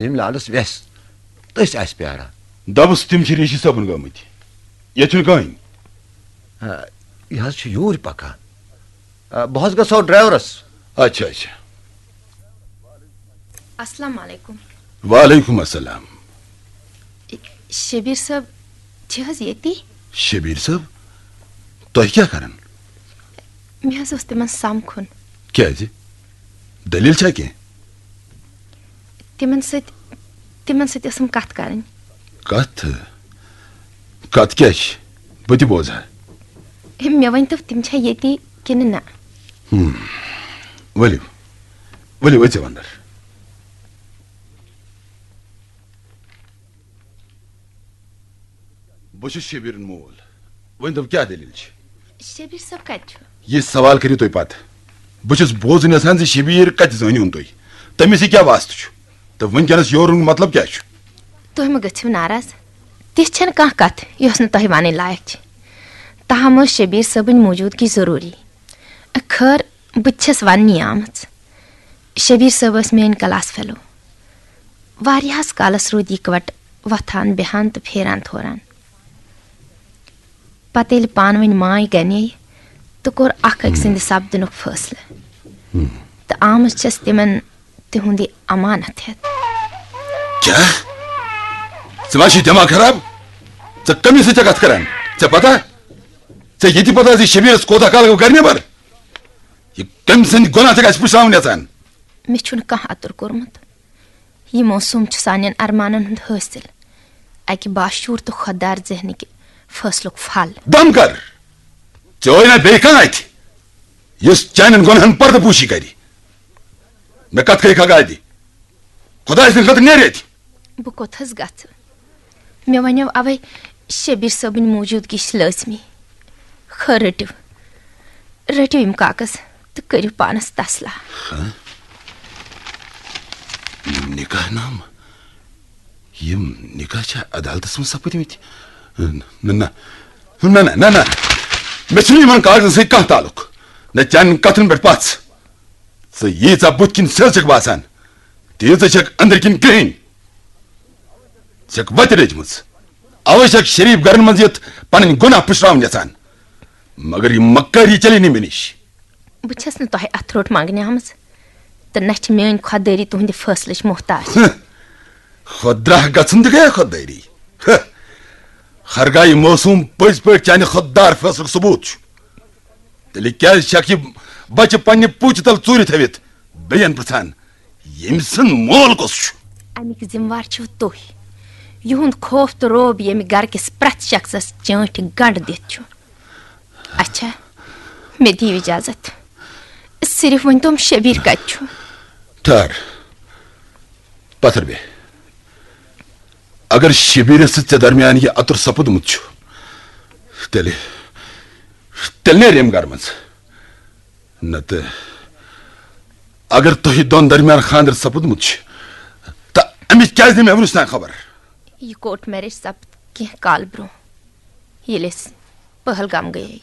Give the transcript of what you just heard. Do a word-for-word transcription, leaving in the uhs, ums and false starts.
ییٚمۍ لالس وٮ۪س تٔسۍ آسہِ پیاران۔ دَپُس، تِم چھِ ریٖشی صٲبُن گٲمٕتۍ۔ ییٚتہِ چھُنہٕ کٕہٕنۍ۔ آ، یہِ حظ چھُ یوٗرۍ پکان۔ آ، بہٕ حظ گژھو ڈرایورس۔ اچھا، اچھا۔ السلام علیکم۔ وعلیکم السلام۔ شبیر صٲب چھِ حظ ییٚتی؟ شبیر صٲب؟ تۄہہِ کیٛاہ کران؟ مےٚ حظ اوس تِمن سمکھُن۔ کیٛازِ؟ دٔلیٖل چھا کینٛہہ؟ تِمن سۭتۍ، تِمن سۭتۍ ٲسٕم کتھ کرٕنۍ۔ کتھ؟ کتھ کیٛاہ چھِ؟ بہٕ تہِ بوزٕ ہا۔ ہے، مےٚ ؤنۍ تو، تِم چھا ییٚتی کِنہٕ نہ؟ ہم۔ ؤلِو، ؤلِو، أژِو اندر۔ بہٕ چھُس شبیٖرُن مول۔ ؤنۍ تو، کیٛاہ دٔلیٖل چھِ؟ شبیٖر صٲب کتہِ چھُ؟ یہِ سوال کٔرِو تُہۍ پتہٕ۔ بہٕ چھُس بوزُن یژھان زِ شبیٖر کتہِ زٲنِوُن تُہۍ؟ تٔمِس سۭتۍ کیٛاہ واسطہٕ چھُ؟ تہٕ وٕنکیٚنس یورٕ یُن مطلب کیٛاہ چھُ؟ تُہۍ مہٕ گٔژھِو ناراض۔ تِژھ چھَنہٕ کانٛہہ کتھ یۄس نہٕ تۄہہِ ونٕنۍ لایق چھِ۔ تاہم ٲس شبیٖر صٲبٕنۍ موٗجوٗدگی ضروٗری۔ خٲر، بہٕ تہِ چھَس وننی آمٕژ۔ شبیٖر صٲب ٲسۍ میٲنۍ کلاس فیلو۔ واریاہس کالس روٗدۍ اِکوٹہٕ وۄتھان، بیہان تہٕ پھیران تھوران۔ پتہٕ ییٚلہِ پانہٕ ؤنۍ ماے گنے تہٕ کوٚر اکھ أکۍ سٕنٛدِ سپدنُک فٲصلہٕ۔ تہٕ آمٕژ چھَس تِمن تِہُنٛد یہِ امانت ہٮ۪تھ۔ کیٛاہ؟ ژٕ ما چھُے دٮ۪ماغ خراب؟ ژٕ کٔمِس سۭتۍ چھَکھ کتھ کران؟ ژےٚ پتہ؟ ژےٚ یہِ تہِ پتہ زِ شبیٖرس کوتاہ کال گوٚو گرِ نٮ۪بر؟ یہِ کٔمۍ سٕنٛدۍ گۄناہ چھَکھ اَسہِ پُشراوُن یژھان؟ مےٚ چھُنہٕ کانٛہہ اَتُر کوٚرمُت۔ یہِ موسوٗم چھُ سانٮ۪ن ارمانن ہُنٛد حٲصِل، اَکہِ باشعوٗر تہٕ خۄددار ذہنٕکہِ فٲصلُک پھل۔ دم کر! ژےٚ ٲے نا بیٚیہِ کانٛہہ اَتھِ، یُس چانٮ۪ن گۄناہن پردٕ پوشی کرِ؟ مےٚ کتھ کھے کھگادِ؟ خۄداے سٕنٛدِ خٲطرٕ نیرِ اَتہِ۔ بہٕ کوٚت حظ گژھٕ؟ مےٚ وَنیو اوے، شبیر صٲبٕنۍ موٗجوٗدگی چھِ لٲزمی۔ خٲر، رٔٹِو، رٔٹِو یِم کاغذ تہٕ کٔرِو پانس تسلا۔ ہاں؟ نکاح نامہٕ؟ یِم نکاح چھا عدالتس منٛز سپٕدمٕتۍ؟ نہ، نہ، نہ، نہ، نہ۔ مےٚ چھُنہٕ یِمن کاغذن سۭتۍ کانٛہہ تعلق۔ نہ چانٮ۪ن کتھن پٮ۪ٹھ پژھ۔ ژٕ ییٖژاہ بُتھِ کِنۍ سٕہہ چھَکھ باسان، تیٖژاہ چھَکھ أنٛدرٕ کِنۍ کرٛہِنۍ۔ ژےٚ چھَکھ وَتہِ رٔجمٕژ۔ اَوَے چھَکھ شریٖف گرن منٛز یِتھ پنٕنۍ گۄناہ پُشراوٕنۍ یژھان۔ مگر یہِ مکٲری چلی نہٕ مےٚ نِش۔ بہٕ چھَس نہٕ تۄہہِ اَتھٕ روٚٹ منٛگنہِ آمٕژ، تہٕ نہ چھِ میٛٲنۍ خۄددٲری تُہٕنٛدِ فٲصلٕچ محتاج۔ ہہ، خۄدراہ گژھُن تہِ گٔیہ خۄددٲری۔ ہہ، ہرگاہ یہِ موسوٗم پٔزۍ پٲٹھۍ چانہِ خۄددار فٲصلُک ثبوٗت چھُ، تیٚلہِ کیٛازِ چھکھ یہِ بچہٕ پننہِ پوٗتہِ تل ژوٗرِ تھٲوِتھ بیٚین پرژھان، ییٚمۍ سُنٛد مول کُس چھُ؟ اَمِکۍ ذمہٕ وار چھِو تُہۍ۔ یِہُنٛد خوف تہٕ رعب ییٚمہِ گرٕ کِس پرٛٮ۪تھ شخصس چٲنٛٹھِ گنٛڈ دِتھ چھُ۔ اچھا، مےٚ دِیِو اجازت۔ صرف ؤنۍ تَم شبیٖر کتہِ چھُ؟ ٹھہر، پتھر بیٚہہ۔ اگر شبیٖرس تہٕ ژےٚ درمیان یہِ اَتُر سپُدمُت چھُ، تیٚلہِ، تیٚلہِ نیرِ أمۍ گرٕ منٛز۔ نتہٕ اگر تۄہہِ دۄن درمیان خانٛدر سپُدمُت چھُ، تہٕ أمِس کیٛازِ نہٕ مےٚ وُنِس تام خبر؟ یہِ کورٹ میریج سپُد کینٛہہ کال برٛونٛہہ، ییٚلہِ أسۍ پہلگام گٔیے۔